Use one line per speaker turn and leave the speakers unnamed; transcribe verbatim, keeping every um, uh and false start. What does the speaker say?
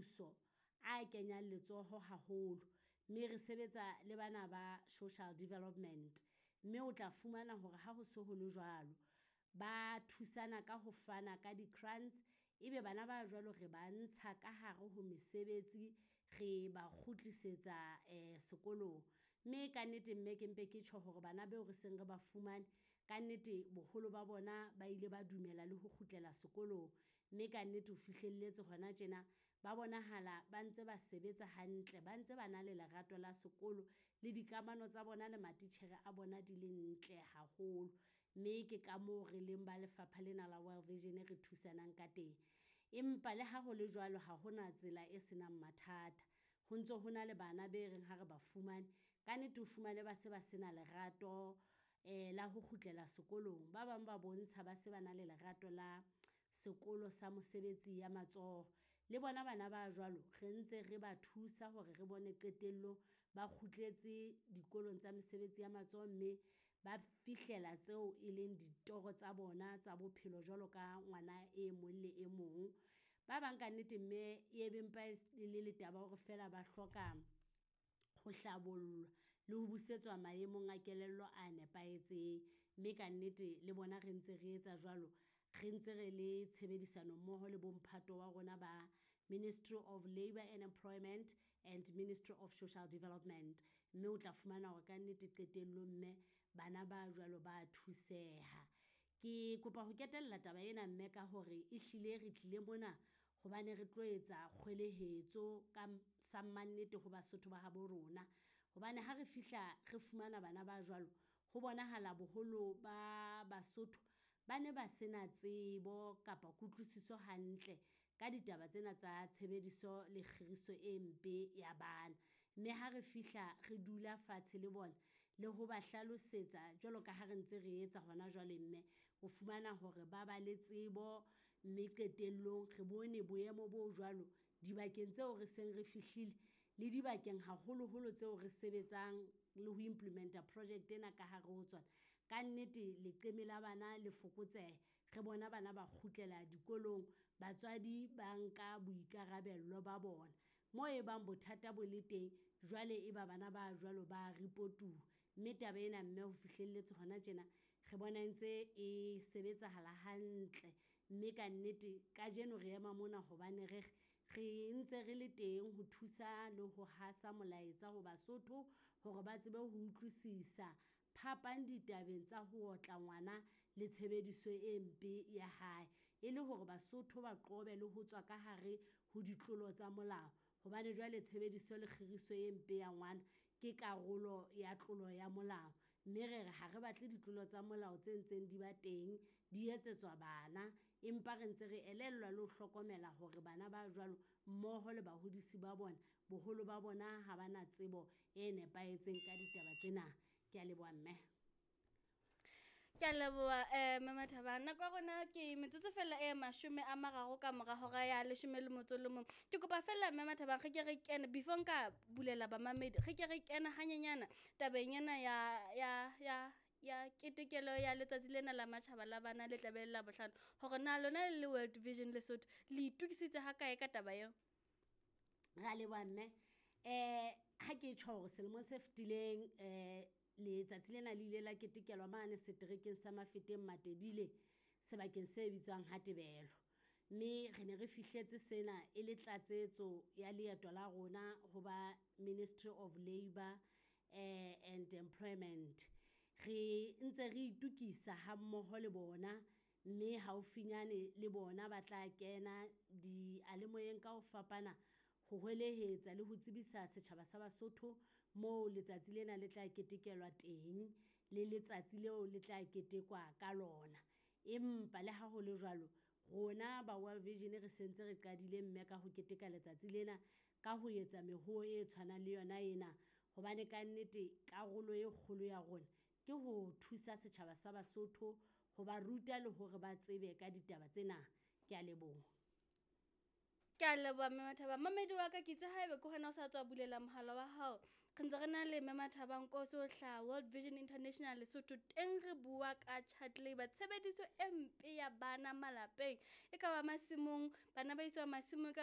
mmuso a kenyang letsoho haholo. Mme re sebetsa le bana ba Social Development, mme o tla fumana hore ha ho so ho le jwalo, ba thusana ka ho fana ka di-grants. E be bana ba jwalo re ba ntsha ka hare ho mesebetsi, re ba kgutlisetsa sekolong. Mme ka nnete mme ke mpe ke tjho hore bana beo re seng re ba fumane, ka nnete boholo ba bona ba ile ba dumela le ho kgutlela sekolong. Mme ka nnete ho fihlelletse hona tjena, ba bonahala ba ntse ba sebetsa hantle, ba ntse ba na le lerato la sekolo le dikamano tsa bona le matitjhere a bona di le ntle haholo. Mme ke ka moo re leng ba lefapha lena la World Vision re thusanang ka teng. Empa le ha hole jwalo, ha hona tsela e senang mathata. Ho ntso ho na le bana be reng ha re ba fumane, ka nnete o fumane ba se ba se na lerato la ho kgutlela sekolong. Ba bang ba bontsha ba se ba na le lerato la sekolo sa mosebetsi ya matsoho. Le bona bana ba jwalo re ntse re ba thusa hore re bone qetellong ba kgutletse dikolong tsa mesebetsi ya matsoho, mme ba fihlela tseo e leng ditoro tsa bona tsa bophelo jwalo ka ngwana e mong le e mong. Ba bang ka nnete mme e be mpa e le le taba ya hore feela ba hloka ho hlabollwa le ho busetswa maemong a kelello a nepahetseng. Mme ka nnete le bona re ntse re etsa jwalo, re ntse re le tshebedisano mmoho le bo mphato wa rona ba Ministry of Labour and Employment and Ministry of Social Development. Mme o tla fumana hore ka nnete qetellong mme bana ba jwalo ba thuseha. Ke kopa ho ketella taba ena mme ka hore e hlile re tlile mona hobane re tlo etsa kgwelehetso ka sa mannete ho Basotho ba habo rona. Hobane ha re fihla re fumana bana ba jwalo, ho bonahala boholo ba Basotho ba ne ba se na tsebo kapa kutlwisiso hantle ka ditaba tsena tsa tshebediso le kgiriso e mpe ya bana. Mme ha re fihla re dula fatshe le bona, le ho ba hlalosetsa jwalo ka ha re ntse re etsa hona jwale mme. O fumana hore ba ba le tsebo, mme qetellong re bone boemo bo jwalo dibakeng tseo re seng re fihlile le dibakeng haholoholo tseo re sebetsang le ho implement-a project ena ka hare ho tsona. Ka nnete leqeme la bana le fokotseha, re bona bana ba kgutlela dikolong, batswadi ba nka boikarabello ba bona. Mo e bang bothata bo le teng, jwale e ba bana ba jwalo ba report-uwa. Mme taba ena mme ho fihlelletse hona tjena, re bona e ntse e sebetsahala hantle. Mme ka nnete kajeno re ema mona hobane re re, re ntse re le teng ho thusa le ho hasa molaetsa ho Basotho hore ba tsebe ho utlwisisa phapang ditabeng tsa ho otla ngwana le tshebediso e mpe ya hae. E le hore Basotho ba qobe le ho tswa ka hare ho ditlolo tsa molao. Hobane jwale tshebediso le kgiriso e mpe ya ngwana, ke karolo ya tlolo ya molao. Mme re re ha re batle ditlolo tsa molao tse ntseng di ba teng, di etsetswa bana. Empa re ntse re elellwa le ho hlokomela hore bana ba jwalo mmoho le bahodisi ba bona, boholo ba bona ha ba na tsebo e nepahetseng ka ditaba tsena. Ke a leboha mme.
Ke a leboha mme Mathabang. Nako ya rona ke metsotso fela e mashome a mararo ka mora hora ya leshome le motso le mong. Ke kopa fela mme Mathabang re ke re kene before nka bulela bamamedi, re ke re kene hanyenyana tabeng ena ya ya ya ya ketekelo ya letsatsi lena la matjhaba la bana le tlabe le Labohlano. Hore na lona le le World Vision Lesotho le itokisitse ha kae ka taba eo?
Re a leboha mme. Ha ke tjho hore selemong se fetileng letsatsi lena le ile la ketekelwa mane seterekeng sa Mafeteng Matedile, sebakeng se bitswang Ha Tebelo. Mme re ne re fihletse sena e le tlatsetso ya leeto la rona ho ba Ministry of Labour and Employment. Re ntse re itukisa ha mmoho le bona, mme haufinyane le bona ba tla kena dialemoyeng ka ho fapana ho hwelehetsa le ho tsebisa setjhaba sa Basotho moo letsatsi lena le tla ketekelwa teng, le letsatsi leo le tla ketekwa ka lona. Empa le ha hole jwalo, rona ba World Vision re sentse re qadile mme ka ho keteka letsatsi lena ka ho etsa mehoho e tshwanang le yona ena. Hobane ka nnete karolo e kgolo ya rona, ke ho thusa setjhaba sa Basotho ho ba ruta le hore ba tsebe ka ditaba tsena. Ke a leboha.
Ke a leboha mme Mathabang. Mamedi wa ka ke itse haebe ke hona o sa tswa bulela mohala wa hao. Re ntse re na le mme Mathabang Nkosi ho hlaha World Vision International Lesotho. Teng re bua ka child labour, tshebediso e mpe ya bana malapeng. E ka ba masimong, bana ba iswa masimong, e ka